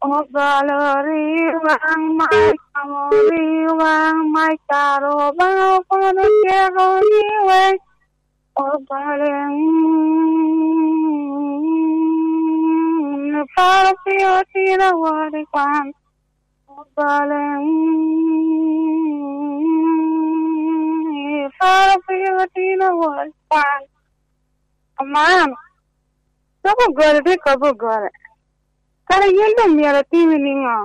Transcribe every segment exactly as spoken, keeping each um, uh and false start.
Obalo riwaŋ mac, amo riwaŋ mac, karo Obaŋa kono tyeko ni wec. Obalo, mm, iparo pi otino wot i kwan. Obalo, mm, iparo pi otino wot i kwan. Aman, dok ogole tye kop ogole. Kara yin doŋ myero atimi niŋo?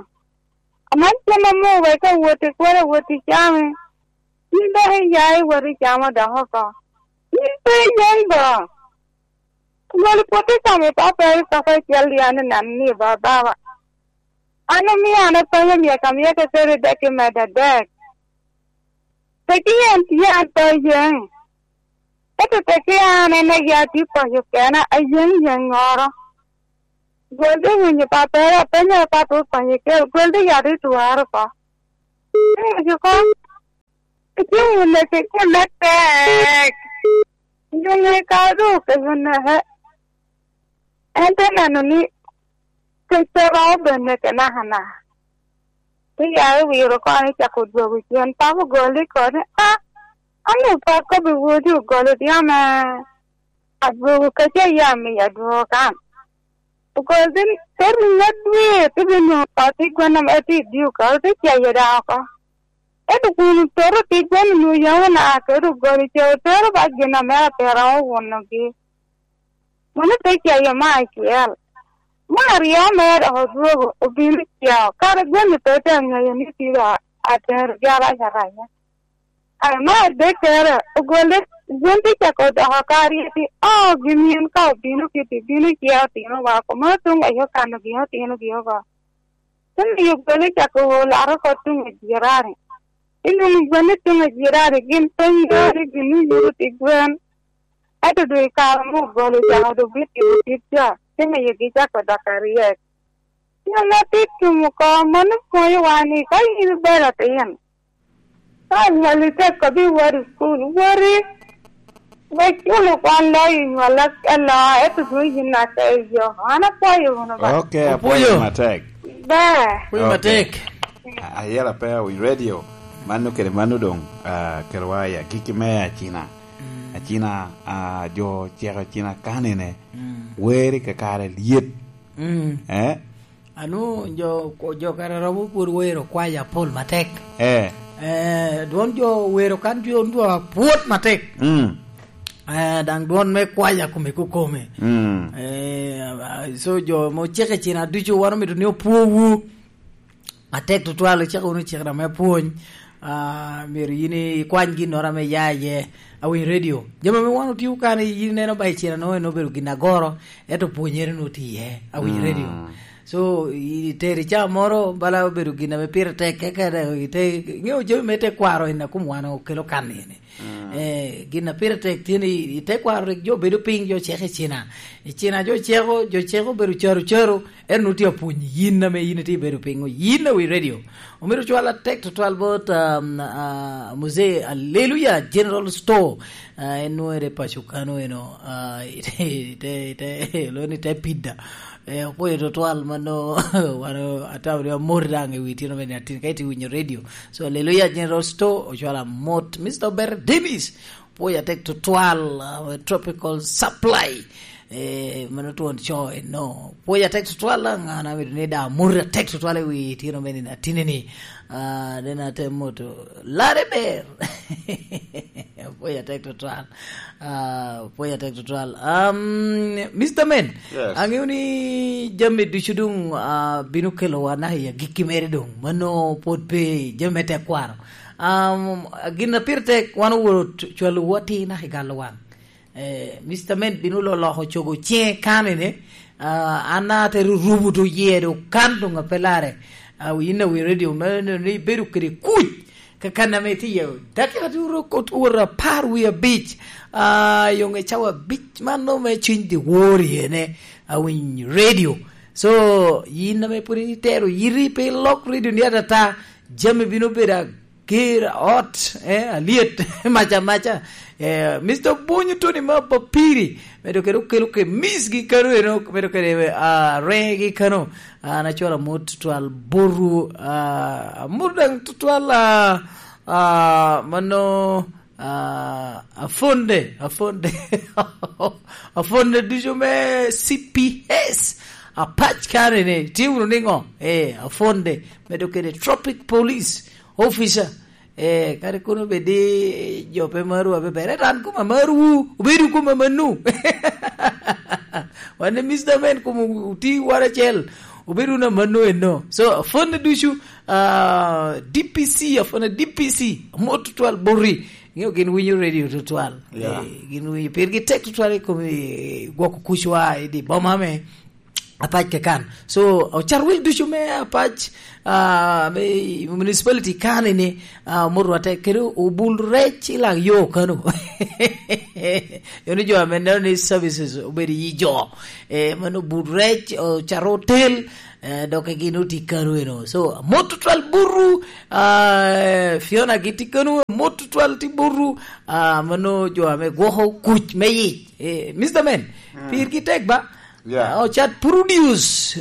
Aman cen amo wek awot i kwaro, awot i cami. Yin dok iya iwot i camo dok oko. Yin pe iyen bo. Ogole pwod i cami papa i kaka icel yan i neno ni ba baba. An omio an atonyo myeka myeka kede dek i medo adek. Teki en tye an pe ayeŋ. Ento teki an en aye atye paco kena, ayeŋ yeŋŋoro. Gwel dhi winyo papere, apenyo papo okonyo kel, gwel dhi yat i twaro oko. Ento ko, icung wun lecce kun me tek. Nyuŋe ka duk e yuneke. En te neno ni kec pe romo bene ke nakanaka. Te ya i wiro kono icako dwogo cen. Papa ogol i koni, "A, an doŋ pe akobbi wodi ogol odi ame adwogo kec a yam i adwogo kan." Ogol te, te riŋo adwe, te bino ot i gwen ame tye i dio ka, te cayo daŋ oko. Ento kun ototo tic bene onwoŋo yam ona kede ogol i ce otero ba gin ame atera owunogi. Mano te cayo me acel. Me aryo mere dok odwogo, obino ceo. Kara gweno pe te aŋeyo ni tye a-, atero gi arac araca. Ai, me adekkere, ogole, gin te cako doko kare, ti, "Oh, gin yen ka obino kiti, bino ceo otinowa, komo otuŋ aye okano gin otinogi oko." Te miyo gweno cako laro oko tuŋ i jirani. Te nwoŋo gweno tuŋ i jirani, gin pe ŋeo ni gin oyuto pi gwen. Ento doŋ i kare ame ogolo cako doŋ bitimo tic ca, te miyogi cako dok aryek. Gin atit tum oko, mano pwonyowa ni ka in ibed atin, ka anywalli tek kobbi wot i cukul, woti. Wek culo kwan loyo nywalla aloa, ento dwon yin aka i yo. An apwoyo wunu ba. Ok, apwoyo matek. Ba. Apwoyo matek. A-, ayela pe awiny radio. Mano kede mano doŋ, ah, kelowa i agikki me acina. Mm. Acina, ah, jo ceko acina kanene. Mm. Weri kakare lyet. Mm. Eh? Anu, jo, jo kare romo pwod wero kwaya apol matek. Eh. Eh, dwon jo wero kan jo ndwa pwod matek. Mm. Eh, daŋ dwon me kwaya kome kukome. Mm. Eh, ah, so jo mo ceke cina ducu wan omito ni opwowu. Atek tutwal, icako wunu cik na me pwony. Ah, myero yin ikwany ginnoro ame ya iye. Awiny radio. Jami ame wan otio kan, yin ineno ba i cina no en obedo gin agoro, ento pwonyere no tye iye. Awiny radio. So, i tero i caa moro, bala obedo gin ame pire tek, kekede ite, ŋeo jami me te kwaro en a kom wan okelo kan ene. Eh, gin a pire tek tye ni i te kwaro rik jo bedo piny, jo ceko i cina. I cina jo ceko, jo ceko obedo caro caro, en nwoŋo tye apwony yin ame yin itye ibedo piny, yin a wi radio. Omito cwal atek tutwal bot, um, uh, Muzee Aleluya General Store. Uh, en nwoŋo ere paco kano eno, uh, ite, ite, ite, lo ni te pida. Eh, opwoyo tutwal mano, wan atamo ni amoti daŋ i wi tino me niatin, ka iti winyo radio. So, Aleluya General Store, ocwalo amot. Mister Ober Davis, pwoyo atek tutwal, uh, Tropical Supply. Eh, mano twon co eno. Pwoyo atek tutwal, an amito ni da amoti atek tutwal i wi tino me niatin ni. Ah, den ate moto. Lare ber. Pwoyo atek tutwal. Ah, pwoyo atek tutwal. Um, Mister Men, yes, aŋeo ni jami ducu doŋ, ah, bino kelo wa na i agikki mere doŋ. Mano pwod pe jami me tekwaro. Um, gin a pire tek wan oworo t-, cwalo wa ti na i galo wan. Eh, Mister Men bino loloko cogo ciŋe kanene. Ah, an ate rurubo to yero kan doŋ a pe lare. Ah, wi in a wi radio me, ne, ne ibedo kede kuc. Kakan ame itye iye, dakika tye wot, wot apar wie abic, ah, yoŋe cawa abic, man nongo me cwiny dye wor iyene, awiny radio. So, yin ame pwod itero yiti pe ilok radio ni atata, jami bino bedo a-, ger ot, eh, alyet, maca, maca. Eh, Mister Bunyu Tony ma Papiri, medo kede okelo ke miss gi kano eno, medo kede, ah, renge gi kano. Ah, an acwalo amut tutwal boru, ah, amut daŋ tutwal, ah, ah, mano, ah, Afonde, Afonde. Afonde ducu me C P S. Apac kare ni, tye wunu niŋo? Eh, Afonde, medo kede Tropic Police Officer. Eh, kadi kono bed ni jo pe maru abe ber. Ento an koma maru, obedo koma manu. Wan i Mister Men koma oti wara acel. Obedo na manu eno. So, Afonde ducu, ah, D P C, Afonde D P C, amot tutwal boti. Ngeyo gin winyo radio tutwal. Yeah. Eh, gin winyo, pir gi tek tutwal i kom, eh, gwoko kucwa i di boma me Apac ke kan. So, ocat wil ducu me Apac, ah, me municipality kan ni, ah, omot rwatte kede obul rec i lak yo kano. Yo ni jo ame neno ni services obedo i jo. Eh, mano obul rec, ocat hotel, eh, dok gin oti kano eno. So, mot tutwal buru, ah, Fiona gi ti kano, mot tutwal ti buru, ah, mano jo ame gwoko kuc me yic. Eh, Mister Men, mm, pir gi tek ba? Yeah. Ah, ocat produce.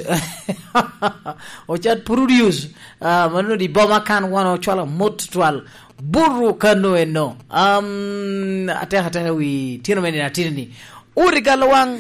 Ocat produce. Ah, mano di boma kan wan ocwalo mot twal. Buru kano eno. Um, ateka ateka wi tino mene na tini ni. Uri galo wang,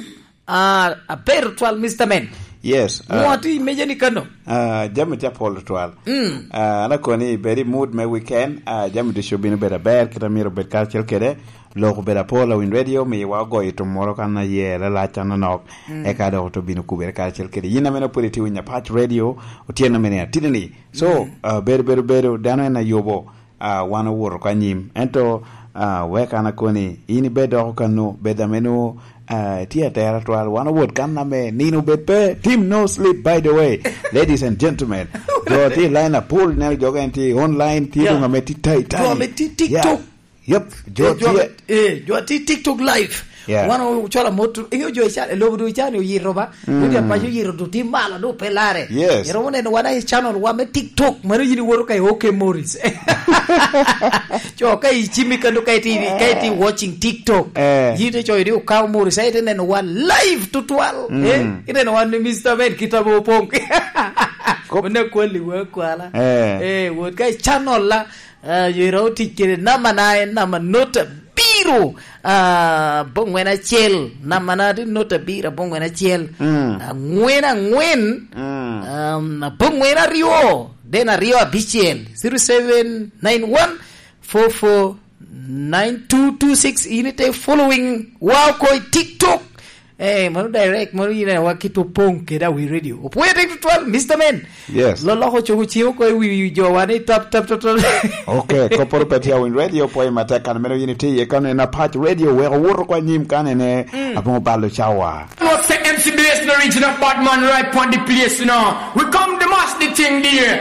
ah, aber twal, Mister Men. Yes, ah, mwati meja ni kano. Ah, jami tye apol twal. Mm. Ah, an akoni bed i mood me weekend. Ah, jami ducu bino bedo aber, kit amiro bed karacel kede. Lok obedo apol, Awiny Radio, miyowa ogoyo tum moro kan aye lalac anonok, mm, eka dok oto bino kubere karacel kede yin ame pwod itye winyo Apac Radio, otyeno mene atitini. So, mm, ah, bedo, bedo, bedo, dano en ayubo, ah, wan owoto ka nyim. Ento, ah, wek an akoni, in ibed doko kano, bed ame nwo, ah, tye atera twal, wan owot kan ame nino bed pe, team no sleep, by the way. Ladies and gentlemen, jo tye i line apol, neno jo en tye online, tye, yeah, dong ame tye tai tai. Jo ame tye TikTok. Yeah. Yep, jo, eh, jo tye, ame, eh, jo tye TikTok live. Yeah. Wan ocwalo amot, ingeyo jo i can, i lobo du i can oyito ba. Mm. Wodi apaco oyito du tye malo, du pe lare. Yes. Iromo neno wan i channel wa me TikTok, mano yin iwoto ka i OK Morris. Co ka i cimi kano ka iti, ka iti watching TikTok. Eh. Yin te co iti okaw Morris, ite neno wan live tutwal. Mm. Eh, ineno wan ni Mister Men kita mo opong. Kop. Mano kwali wa kwala. Eh. Eh, wot ka i channel la, ah, yero tic kede namana en nama not abiro, ah, abongwen acel. Namana tye not abiro, abongwen acel. Mm. Angwen angwen, mm, um, abongwen aryo, then aryo abicel. Zero seven nine one four four nine two two six. In ite following wa oko i TikTok. Eh, mano direct, mano yin awa kit opong kede Awi Radio. Opwoyo tek tutwal, Mister Men. Yes. Loloko cogo ciŋ oko i wi jo wa ni tap, tap, tap, tap. Ok, kopporo pe tye Awiny Radio, opwoyo matek kan meno yin itye iye kano en Apac Radio, wek owot oko anyim kan ene, mm, aboŋo balo cawa. No say M C B S no original bad man right pon the place, you know. We come the mass the thing there.